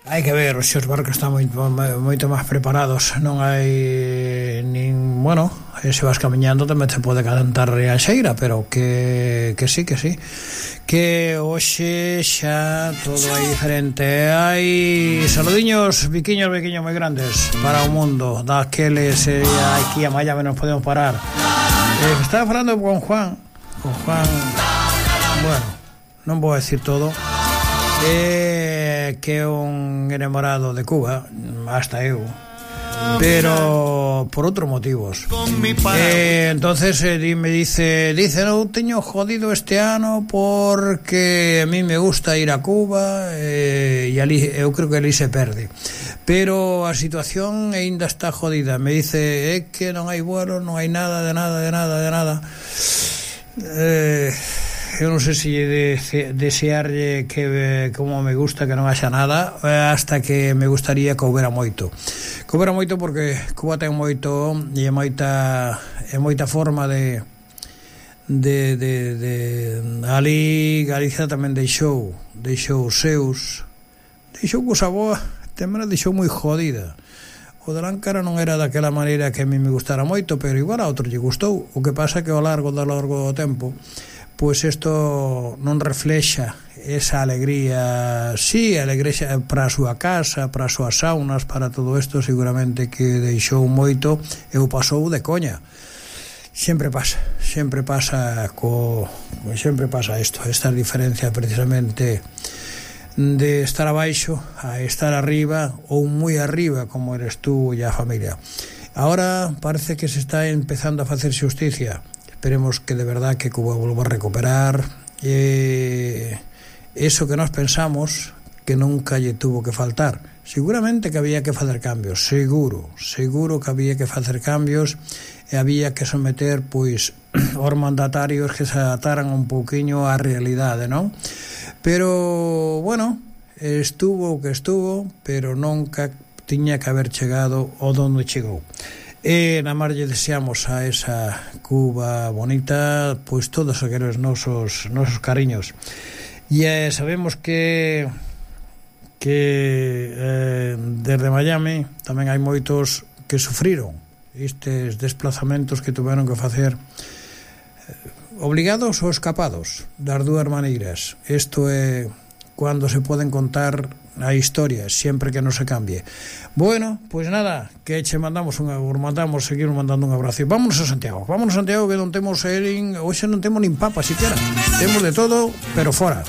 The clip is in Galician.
Hai que ver, os seus barcos están moito máis preparados. Non hai nin... Bueno, se vas camiñando tamén se pode cantar a xeira, pero que sí. Que hoxe xa todo é diferente. Hai saludiños, biquiños moi grandes para o mundo. Daqueles aquí a Miami non podemos parar. Estaba falando con Juan. Bueno, non vou a decir todo. Que é un enamorado de Cuba, hasta eu, pero por outros motivos. Entonces me dice, non teño jodido este ano porque a mí me gusta ir a Cuba, e ali, eu creo que ali se perde, pero a situación aínda está jodida. Me dice, é que non hai vuelos, non hai nada, de nada. Eu non sei se desearlle que como me gusta que non haxa nada, hasta que me gustaría que houbera moito porque Cuba ten moito e moita forma de ali Galicia tamén deixou cousa boa, tamén a deixou moi jodida. O de Lancara non era daquela maneira que a mí me gustara moito, pero igual a outro lle gustou. O que pasa que ao largo do tempo, pois isto non reflexa esa alegría, sí, alegría para a súa casa, para as súas saunas, para todo isto, seguramente que deixou moito e o pasou de coña. Sempre pasa isto, esta diferencia precisamente de estar abaixo a estar arriba, ou moi arriba como eres tú e a familia. Ahora parece que se está empezando a facer xusticia. Esperemos que de verdad que Cuba volva a recuperar eso que nos pensamos que nunca lle tuvo que faltar. Seguramente que había que facer cambios, seguro que había que facer cambios, e había que someter pois os mandatarios que se adaptaran un pouquiño á realidade, non? Pero bueno, estuvo o que estuvo, pero nunca tiña que haber chegado ao donde chegou. E na mar lle deseamos a esa Cuba bonita pois todos aqueles nosos cariños. E sabemos que desde Miami tamén hai moitos que sufriron estes desplazamentos que tuveron que facer obligados ou escapados, das dúas maneiras. Isto é cando se poden contar a historia, sempre que non se cambie. Bueno, pois nada, que che mandamos seguir mandando un abrazo. Vámonos a Santiago, que non temos hoxe non temos nin papa siquiera. Temos de todo, pero fora.